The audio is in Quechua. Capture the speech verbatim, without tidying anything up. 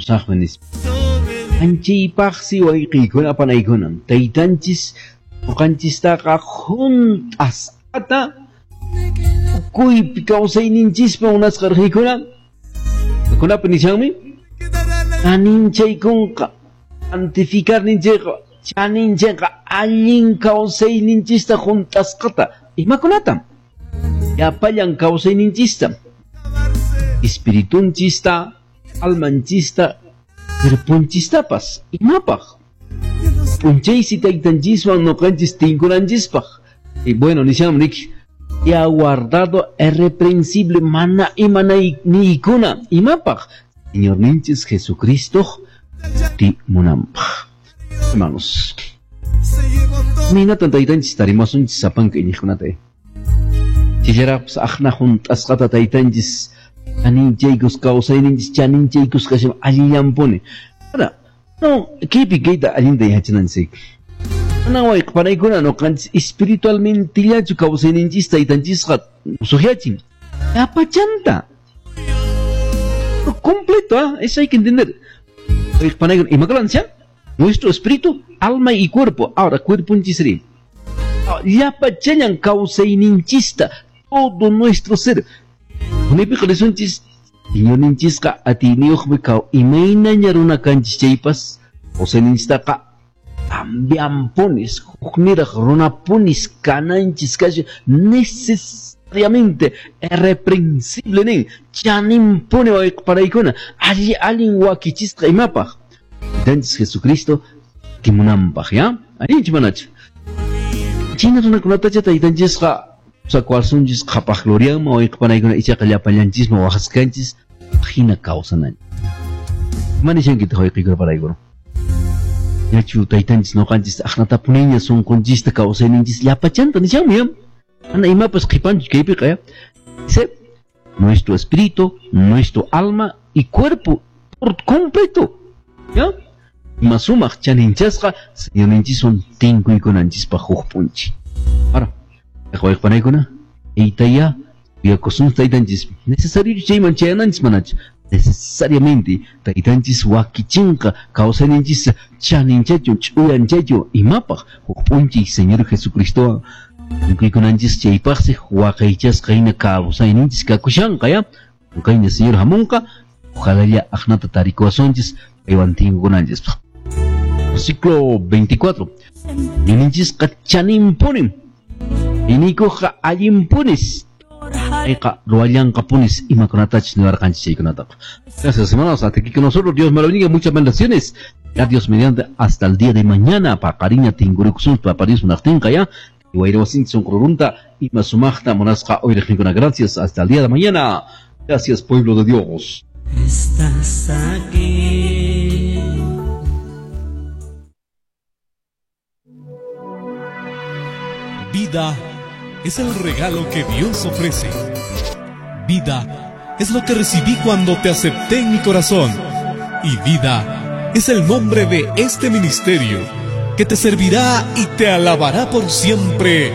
Musaqmi nispa. Anchaypaqsi wayqiykuna panaykuna taytanchis ñuqanchistaqa hunt'asqata tukuypi kawsayninchispa munasqa riqikuna kunapi nishanmi chaninchaykunqa santificarninchayqa chaninchayqa allin kawsayninchista hunt'asqata imakunatam llapallan kawsayninchista espiritunchista almanchista cuerpunchistapas imapaq p'unchaysi taytanchiswan ñuqanchis tinkunanchispaq. Y bueno, nishanmi riki y ha guardado irreprensible mana imanaykuna imapaq Señorninchis Jesucristo timunanpaq. Hermanos, imaynatan taytanchis tarimasunchis sapanka iñiqkunata chillaraqpas aqna hunt'asqata taytanchis chaninchaykus kawsayninchis chaninchaykus kashan allillanpuni. Ahora, no, kaypi kayta allinta yachananchik. Mana wayqa panaykuna ñuqanchis espiritualmentellachu kawsayninchis taytanchisqa musuqyachin llapachanta completo, ¿eh? Eso hay que entender. Wayqa panaykuna imakunan nishan nuestro espíritu, alma y cuerpo. Ahora, cuerponchisri llapachallan kawsayninchista todo nuestro ser. Unaypiqa risunchis Señorninchisqa atiyniyuqmi kaw imaynaña runa kanchis chaypas kawsayninchistaqa cambianpunis hukniraq runapunis kananchis kashan necesariamente irreprensible nin chaninpuni wayqaparaykuna alli allin wakichisqa imapaq Taytanchis Jesucristo timunanpaq ya allinchu manachu chayna runakunatacha taytanchisqa sakuasunchis qhapaq glorianman wayqapanaykuna ichaqa llapallanchisman waqasqanchis hina kawsananchis. Ima nishankitaq wayqiykuna paraykuna yachu taytanchis ñuqanchis aqnatapuniña sunqunchista kawsayninchis llapachanta nishanmi ya mana imapas qhipanchu kaypiqa ya. Dice nuestro espíritu, nuestro alma y cuerpo por completo ya ima sumaq chaninchasqa Señorninchiswan tinkuykunanchispaq huk p'unchay. Ahora, wayqapanaykuna aytaya suyakusun taytanchis necesario chayman chayananchis manachu necesariamente taytanchis wakichinqa kawsayninchis chaninchachun ch'uyanchachun imapaq huk p'unchay Señor Jesucristowan tinkuykunanchis chaypaqsi waqaychasqa hina kawsayninchis kakushanqa ya kayna Señor hamunqa ojalá aqnata tarikuwasunchis paywan tinkukunanchispaq. Versículo veinticuatro. Ñuqanchisqa chaninpunim inikuqqa allinpunis payqa ruwallanqapunis imakunatachus niwarqanchis chaykunataqa. Gracias, hermanos. Hasta aquí con nosotros. Dios me lo bendiga. Muchas bendiciones. Ya Dios mediante hasta el día de mañana. Paqariña tinkurikusun Papa Dios munaqtinqa ya. Wayrawasinchis sunqurunta ima sumaqta munasqa uyriqninkuna. Gracias. Hasta el día de mañana. Gracias, pueblo de Dios. Estás aquí. Vida es el regalo que Dios ofrece. Vida es lo que recibí cuando te acepté en mi corazón. Y vida es el nombre de este ministerio que te servirá y te alabará por siempre.